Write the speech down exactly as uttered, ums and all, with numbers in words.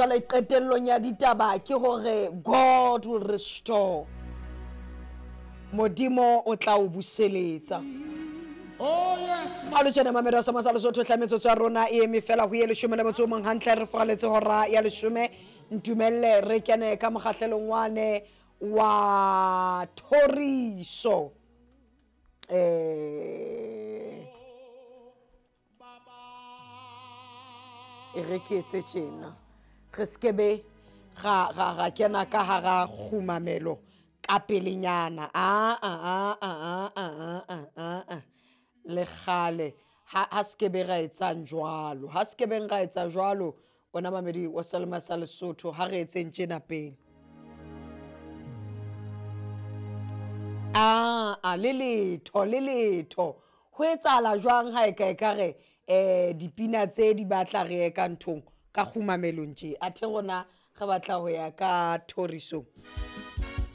Jwale qetellong ya ditaba ke hore God will restore. Modimo o tla o buseletsa. Oh yes, Ha le tjena mamedi wa Sama sa Lesotho hle metsotso ya rona e eme fela ho ye leshome le motso o mong hantle re foraletse hora ya leshome. Ntumelle re kene ka mokgahlelong wane wa thoriso. Eh e re ke etse tjena re skebe ga ga ga kena ka hara kgumamelo ka pelenyana a a a a a a a a a le kgale ha ha skebe ra etsang jwalo ha skebeng ra etsa jwalo wena mamedi wa Selma sa Lesotho ha re etseng tjena pele a a le letho le letho ho etsahala jwang ha e ka e ka re um dipina tse di batla re ye ka nthong ka kgumamelong tje athe rona re batla ho ya ka thorisong.